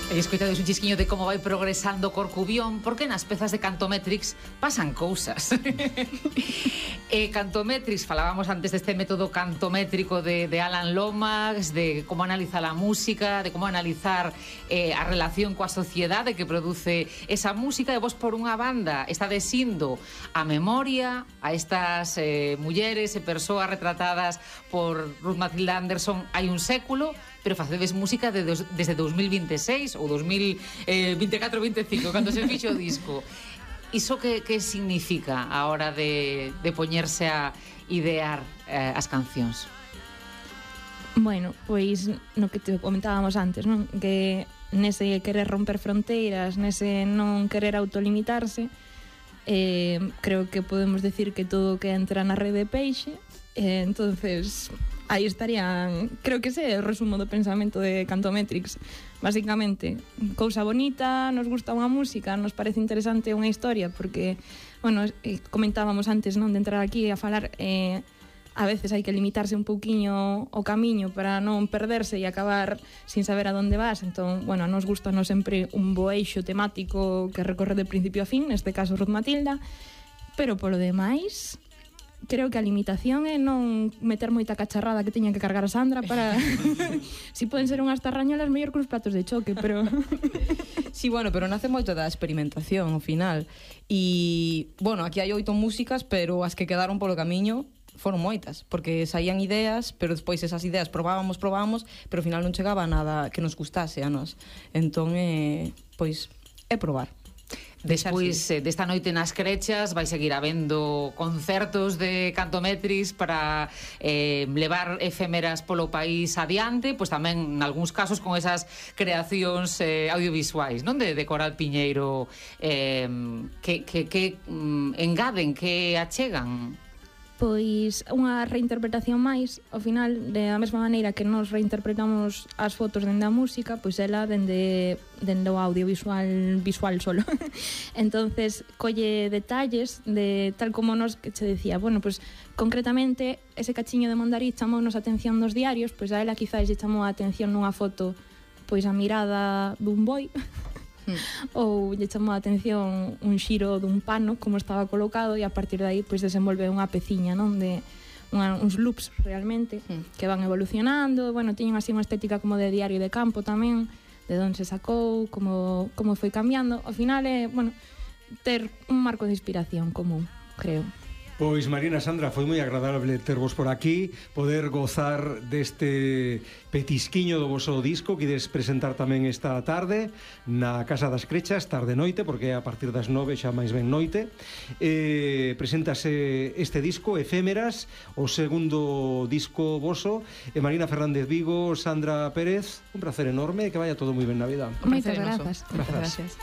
E escoitades un chisquiño de como vai progresando Corcubión, porque nas pezas de Cantometrix pasan cousas. Cantometrix, falábamos antes deste método cantométrico de Alan Lomax, de como analizar a música, de como analizar a relación coa sociedade que produce esa música, e vos por unha banda está desindo a memoria a estas mulleres e persoas retratadas por Ruth Matilda Anderson hai un século, pero facedes música desde 2026 ou 2024-25, cando se fixo o disco. Iso que significa a hora de poñerse a idear as cancións? Bueno, pois no que te comentábamos antes, non? Que nese querer romper fronteiras, nese non querer autolimitarse, creo que podemos decir que todo que entra na rede peixe, entonces aí estarían, creo que ese é o resumo do pensamento de Cantometrix. Básicamente, cousa bonita, nos gusta unha música, nos parece interesante unha historia, porque, bueno, comentábamos antes, non, de entrar aquí a falar, a veces hai que limitarse un pouquiño o camiño para non perderse e acabar sin saber a donde vas. Entón, bueno, nos gusta non sempre un bo eixo temático que recorre de principio a fin, neste caso Ruth Matilda, pero polo demais creo que a limitación é non meter moita cacharrada que teña que cargar a Sandra para... Si poden ser unhas tarrañolas mellor que uns platos de choque, pero... Sí, bueno, pero nace moito da experimentación ao final. E, bueno, aquí hai 8 músicas, pero as que quedaron polo camiño foron moitas, porque saían ideas, pero despois esas ideas probábamos, pero ao final non chegaba a nada que nos gustase a nós. Entón, pois, é probar. Despois desta noite nas Crechas vai seguir habendo concertos de Cantometrix para levar efémeras polo país adiante, pois tamén en algúns casos con esas creacións audiovisuais, non, de Coral Piñeiro, que engaden, que achegan. Pois unha reinterpretación máis, ao final, da mesma maneira que nos reinterpretamos as fotos dende a música, pois ela dende o audiovisual visual solo. Entonces, colle detalles de tal como nos que che decía, bueno, pois concretamente ese cachiño de Mondariz chamounos a atención dos diarios, pois a ela quizás lle chamou a atención nunha foto pois a mirada dun boi. Ou lle chamou a atención un xiro dun pano como estaba colocado, e a partir de aí pois desenvolve unha peciña, non, de uns loops realmente que van evolucionando. Bueno, tiñen así unha estética como de diario de campo tamén, de onde se sacou, como foi cambiando. Ao final é, bueno, ter un marco de inspiración común, creo. Pois, Marina, Sandra, foi moi agradable tervos por aquí, poder gozar deste petisquiño do voso disco que ides presentar tamén esta tarde na Casa das Crechas, tarde-noite, porque é a partir das 9, xa máis ben noite. Preséntase este disco, Efémeras, o segundo disco voso. Marina Fernández Vigo, Sandra Pérez, un placer enorme, que vaya todo moi ben na vida. Moitas grazas. Gracias.